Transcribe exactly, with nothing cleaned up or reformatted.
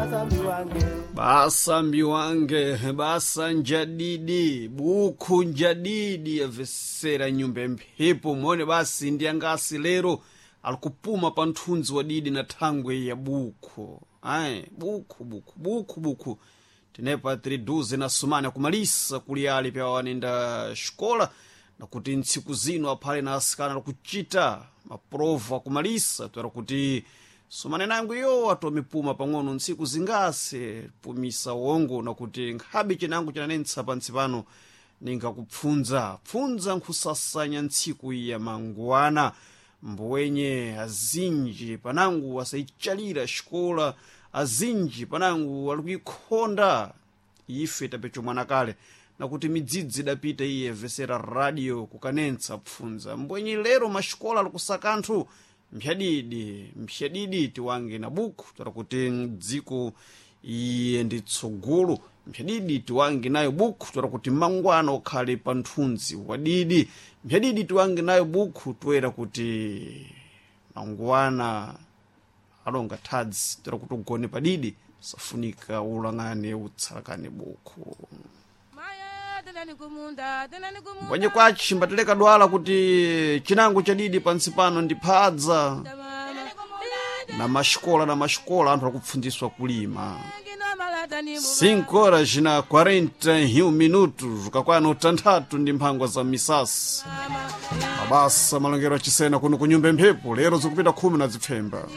Basa mbiwange. Basa mbiwange, basa njadidi, bukhu njadidi yabvesera nyumba mphepo mone basi ndi angasi lero alikupuma pa nthunzi wa didi na thangwe ya bukhu. Ayi, bukhu bukhu bukhu bukhu tinepa tiri na sumana kumalisa kuli ali pya wanenda xikola na kuti ntsiku zino aphale na asikana alikucita maprova akumalisa toera kuti sumane nangu iyo atomipuma pang'ono ntsiku zingase pumisa wongo nakuti nkhabe cinango cinanentsa pantsi pano ningakupfunza pfunza nkhusasanya ntsiku ya mangwana mbuwenye azinji panangu asayichalira xikola azinji panangu alikuikhonda ife tapecho mwana kale nakuti midzidzi idapita iye vesera radio kukanentsa pfunza mbwenye lero maxikola alikusaka anthu mphyadidi mphyadidi tiwange na buku toera kuti dziko iye ndi tsogolo mphyadidi tiwange nayo buku toera kuti mangwana ukhale pa nthunzi wadidi mphyadidi tiwange nayo buku toera kuti mangwana alonga thadzi toera kuti ugone padidi safunika ulang'ane utsalakane buku Maya, kumunda tenani kumunda mbwenye kwachi mbatileka dwala kuti chinango chadidi pansi pano ndi phadza mama na maxikola na maxikola anthu akupfundiswa kulima ngino malata ni mu cinco horas na quarenta e um minutos kakwana utanthatu ndi mphangwa za misasi mabasa malongero achisena kuno ku nyumba mphepo lero zikupita khumi na zipfemba